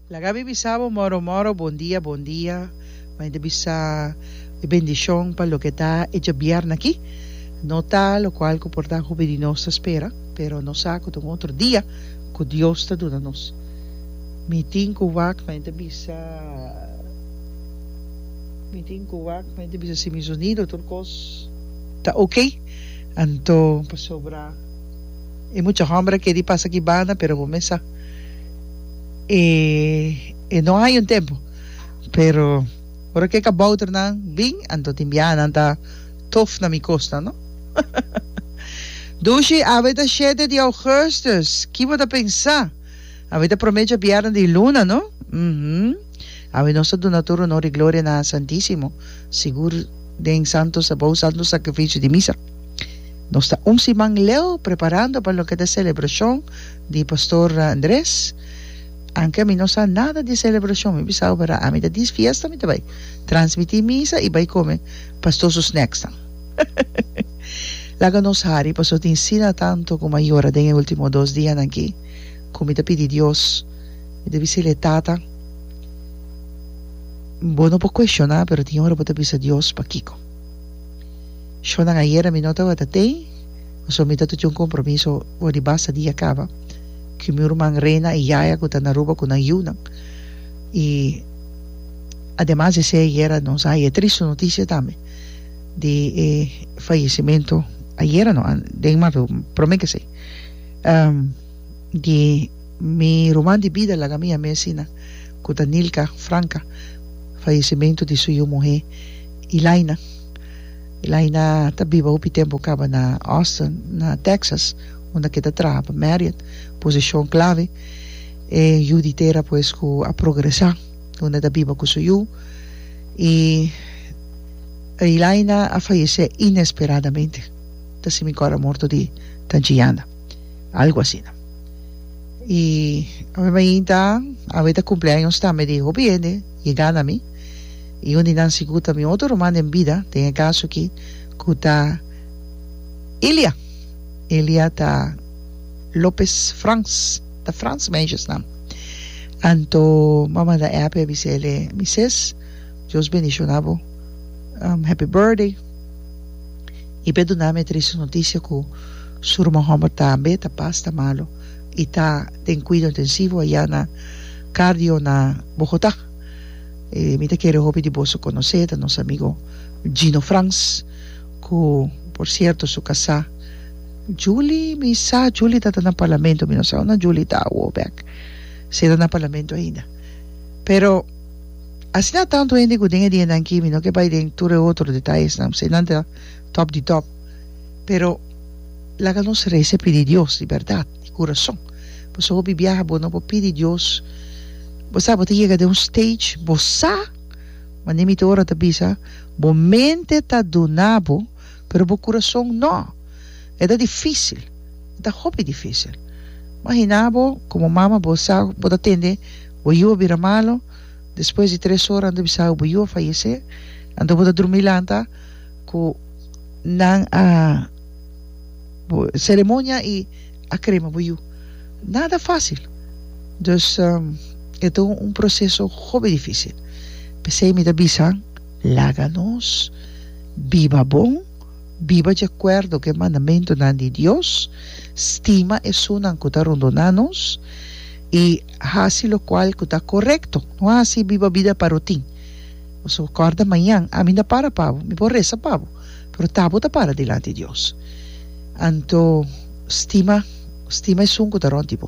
Laga mi bisa bo moro moro bon dia bon dia mi ta bisa e bendishon pa loke ta e djabièrnè aki no ta lokual ku por ta hopi di nos ta spera pero nos sa ku ta un otro dia ku Dios ta duna nos mi tin ku wak mi ta bisa mi tin ku wak mi ta bisa si mi zonido tur kos ta oke anto pasobra e mucha hòmber a kere pasa aki banda pero bo mes sa. E e no hay un tempo pero ora ke kabouternan bin anto tin biaha nan ta tof na mi kosnan no. Dushi awe ta shete di augustus ki bo ta pensa? Awe ta prome djabièrnè di luna no uhmm awe nos ta duna tur honor i gloria na Santisimo sigur den santo bou santo sakrifisio di misa nos ta un siman leu preparando pa loke ta selebrashon Di Pastor Andres, Anke mi no sa nada di celebracion, mi bisa bo bera ami ta dis fiesta mi ta bai transmiti misa y bai come pastor su snacksnan. Laga nos hari pasobra tin sina tanto cu mi a yora den e ultimo dos dianan aki cu mi ta pidi Dios, mi ta bis'El, Tata, bo no por cuestiona pero tin ora bo ta bisa Dios pakico. Shownan ayera mi no tabata tey. Pasobra mi ta tuchi un kompromiso for di basta dia kaba ku mi ruman Rena i Yaya ku ta na Aruba ku nan yunan. I ademas di esei ayera nos a haya e tristu notisia tambe di e fayesimentu, ayera no, den marzo, prome ke esei, di mi ruman di bida laga mi yam'é asina, ku ta Nilka Franca, fayesimentu di su yu muhé Ilaina. Elaina ta biba hopi tempu kaba na Austin, na Texas, unda ke ta traha pa Marriott, posishon klave. E yu di tera pues ku a progresá, unda e ta biba ku su yu. I Elaina a fayesé inesperadamente, ta si mi kòrda morto di Tanchi Yanda, algu asina. I awe mainta, awe ta kumpleaños tambe di hopi hende yegá na mi. I un di nan sigur ta mi otro ruman den bida, den e kaso aki, ku ta Ilia. Ilia ta Lopez Frans, ta Frans meisjes naam. Anto m'a manda app i a bisa el, Mi ses, Dios bendiciona bo, happy birthday. I p'e duna mi e triste notisia ku su ruman hòmber tambe ta basta malu i ta den kuido intensivo ayá na Cardio na Bogotá. E mi ta kere hopi di boso konosé, ta nos amigo Gino Frans, ku por sierto su kasá Julie, mi sa Julie ta ta na parlamento, mi no sa unda Julie ta awo bèk, si e ta na parlamento ainda. Pero asina tantu hende ku den e dianan aki, mi no ke bai den tur e otro detayesnan, pasobra nan ta tòp di tòp, pero laga nos resa i pidi Dios di bèrdat, di kurason, pasobra hopi biaha bo no por pidi Dios. Bo sa bo ta yega den un stage bo sa manera mi ta ora ta bisa bo mente ta duna bo pero bo kurason no e ta dificil e ta hopi dificil imagina bo como mama bo sa bo ta tende bo yu a bira malo despues di tres ora nan ta bisa bo bo yu a fayece anto bo ta drumi lanta cu nan a ceremonia y a crema bo yu. Nada fácil. Dus e ta un proceso hopi difícil. P'esei mi ta bisa, laga nos biba bon, biba di akuerdo ku e mandamentunan di Dios, stima esunnan ku ta rondoná nos i hasi lokual ku ta korekto. No hasi biba bida pa rutin. Pasobra kòrda mañan ami no para pa bo, mi por resa pa bo, pero ta bo ta para dilanti Dios. Anto stima. Stima esun ku ta rònt di bo.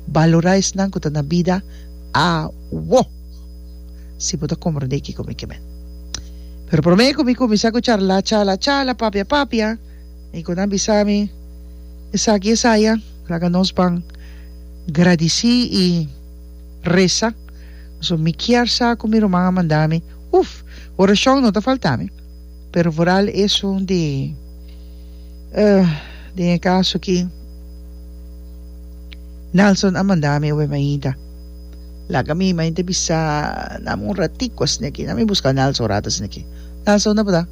Balorá esnan ku ta na bida awo. Si bo ta komprendé kiko mi ke men. Pero promé ku mi kuminsá ku charla, chala, chala, papia, papia, i ku nan bisa mi esaki, esaya, laga nos ban gradisí i resa. Pasobra mi kier sa ku mi ruman a manda mi. Uf! Orashon no ta falta mi, pero vooral esun di. Den e kaso aki Nelson a manda mi obe mainta. Laga mi mainta bisa nami un ratico asina aki. Nami buska Nelson un rato asina aki. Nelson unda bo ta?